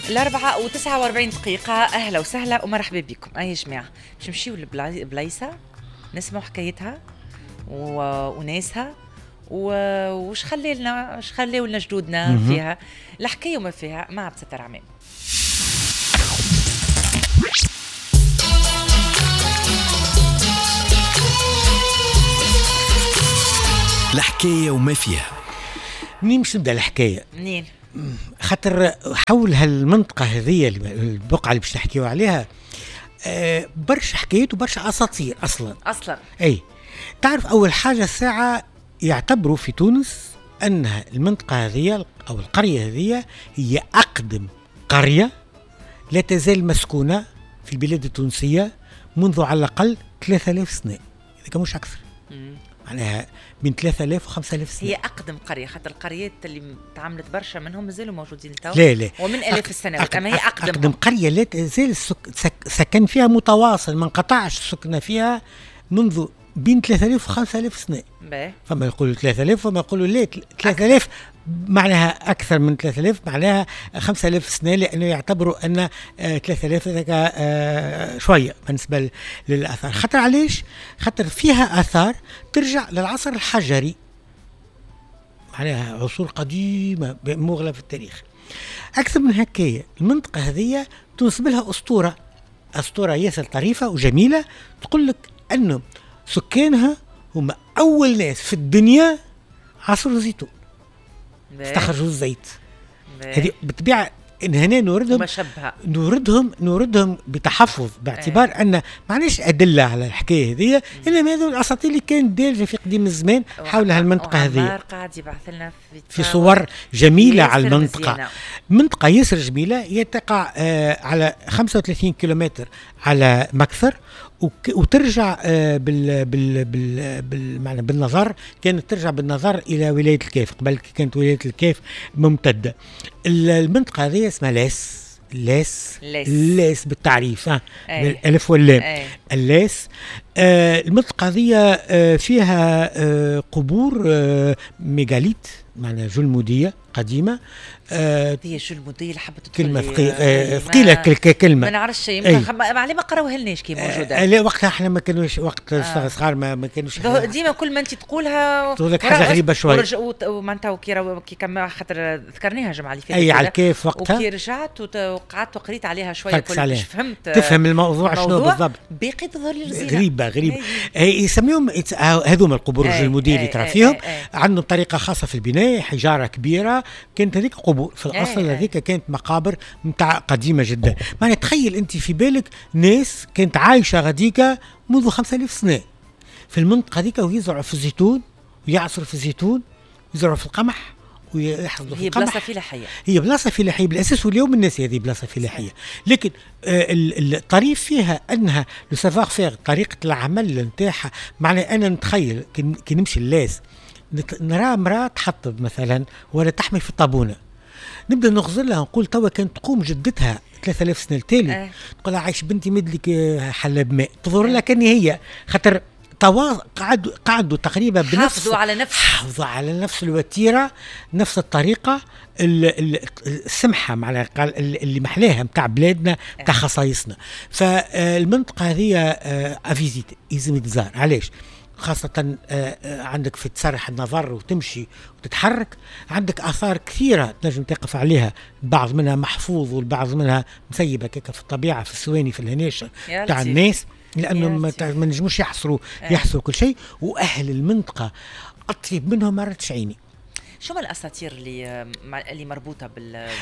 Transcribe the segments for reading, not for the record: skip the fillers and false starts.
4:49، أهلا وسهلا ومرحبا بكم. أي جماعة باش نمشيو لبلايصة نسمعوا حكايتها وناسها وش خلينا وش خليو لنا جدودنا فيها الحكاية وما فيها مع عبد الستار عمام. الحكاية وما فيها. منين باش نبدا الحكاية؟ منين؟ خاطر حول هالمنطقة هذه البقعة اللي باش نحكيو عليها برشا حكايات وبرشا أساطير أصلا. أي تعرف أول حاجة الساعة يعتبروا في تونس أنها المنطقة هذه أو القرية هذه هي أقدم قرية لا تزال مسكونة في البلاد التونسية منذ على الأقل 3000 سنة إذا كان مش أكثر. معناها من 3000 و 5000 سنة. هي أقدم قرية، خاطر القريات اللي تعاملت برشا منهم مازالوا موجودين تو. لا لا، ومن آلاف السنوات، أما هي أقدم قرية لا تزال سكن فيها متواصل، ما انقطعش السكنة فيها منذ بين 3000 و 5000 سنة. فما يقولوا 3000 وما يقولوا لا 3000، معناها أكثر من 3000، معناها 5000 سنة، لأنه يعتبروا أن 3000 هذاك شوية بالنسبة للآثار. خاطر علاش؟ خاطر فيها آثار ترجع للعصر الحجري، معناها عصور قديمة مغلة في التاريخ. أكثر من هكايا المنطقة هذه تنسب لها أسطورة، أسطورة ياسر طريفة وجميلة، تقول لك أنه سكانها هم أول ناس في الدنيا عصروا الزيتون، استخرجوا الزيت. هذه بالطبيعة إن هنا نوردهم نوردهم بتحفظ، باعتبار أن ما عندناش أدلة على الحكاية هذه، إنما هذو الأساطير اللي كانت دارجة في قديم الزمان حول هالمنطقة هذه. قاعد يبعث لنا في صور جميلة على المنطقة. مزيانة. منطقة ياسر جميلة، هي تقع على 35 كيلومتر على مكثر، وترجع بال بال بال بال بالنظر، كانت ترجع بالنظر الى ولاية الكاف، قبل كانت ولاية الكاف ممتدة. المنطقة هذه اسمها لاس لاس لاس, لاس بالتعريف، بالالف واللام، اللاس. المنطقة هذه فيها قبور mégalithes، معناها جلموديه قديمة. هي جلموديه اللي حبت تدخل كلمة ثقيلة، كلمة ما نعرفش، يمكن عليه ما قراوها لناش كي موجودة. لا وقتها احنا ما كانوش، وقت صغار ما كانوش ديما كل ما انت تقولها تقول لك حاجة غريبة شوية. ومعناتها كي كما خاطر ذكرناها الجمعة اللي فاتت، اي على الكيف وقتها، وكي رجعت وقعدت وقريت عليها شوية كل فهمت، تفهم الموضوع شنو بالضبط. باقي تظهر لي رزينه غريبة غريبة. يسميهم هذوما القبور الجلموديه اللي ترى فيهم، عندهم طريقه خاصة في البناء، حجارة كبيرة، كانت هذيك قبور في الاصل، هذيك كانت مقابر نتاع قديمة جدا. معناها تخيل انت في بالك ناس كانت عايشه غاديكا منذ 5000 سنة في المنطقة هذيك، ويزرعوا في الزيتون ويعصروا في الزيتون، ويزرعوا في القمح ويحصدوا في القمح. هي بلاصة فلاحية، هي بلاصة فلاحية بالاساس، واليوم الناس هذه بلاصة فلاحية. لكن الطريف فيها انها le savoir-faire، طريقه العمل نتاعها. معناها انا نتخيل كي نمشي اللاس نرى امراة تحطب مثلا ولا تحمي في الطابونه، نبدا نغزر لها نقول توا كانت تقوم جدتها 3000 سنة التالي تقول لها عايش بنتي مدلك حلاب ماء، تظهر لها كان هي خاطر قعدوا تقريبا بنفس، حافظوا على نفس الوتيره، نفس الطريقة السمحة معناها اللي محلاها نتاع بلادنا نتاع خصائصنا. فالمنطقه هذه à visiter، لازم تزار. علاش؟ خاصة عندك في تسرح النظر وتمشي وتتحرك، عندك آثار كثيرة تنجم تقف عليها، بعض منها محفوظ والبعض منها مسيبة كيكا في الطبيعة، في السواني، في الهناشة تاع الناس، لأنه ما نجموش يحصروا كل شيء. وأهل المنطقة أطيب منهم ما رتش عيني. شو ما الاساطير اللي مربوطة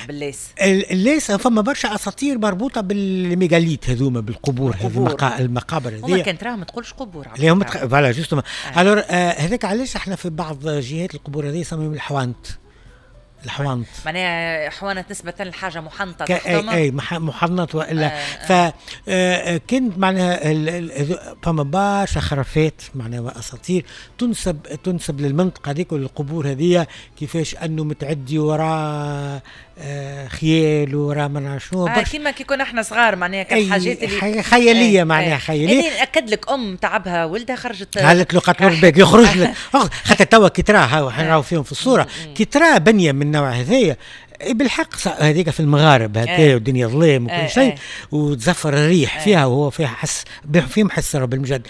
باللاس؟ اللاس فما برشا اساطير مربوطة بال mégalithes هذوما، بالقبور، المقابر هذه. هما كان تراهم ما تقولش قبور، اللي هما voilà justement. alors هذاك علاش احنا في بعض جهات القبور هذه يسميهم الحوانت. الحوانت معناها حوانت نسبة لحاجة محنطة، اي محنط والا فكانت معناها فما برشا خرافات معناها اساطير تنسب للمنطقة هذيك وللقبور هذيا، كيفاش انه متعدي وراء خيال وراء ما نعرف شنو. كيما كي كنا احنا صغار معناها كان حاجات اللي خيالية، معناها خيالية. انا ناكد لك ام تعبها ولدها خرجت قالت له قتلوا بالك يخرج لك، خاطر توا كي تراه نراو فيهم في الصورة، كي ترى بنيه من النوع هذايا بالحق هذيك في المغارب هكا والدنيا ظلام وكل شيء وتزفر الريح فيها، وهو فيها حس، فيهم حس بالمجد.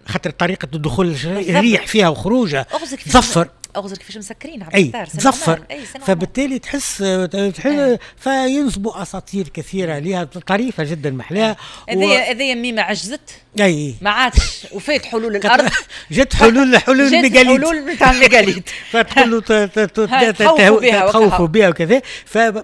خاطر طريقه دخول الريح فيها وخروجها تزفر. اغزر كيفاش مسكرين. عبد الستار، تزفر، فبالتالي تحس فينسبوا اساطير كثيرة لها، طريفه جدا محلاها. هذه ميمه عجزت، ما عادش، وفات حلول الارض. جت حلول ال mégalithe، حلول نتاع ال mégalithe. فتقول له تخوفوا بها وكذا.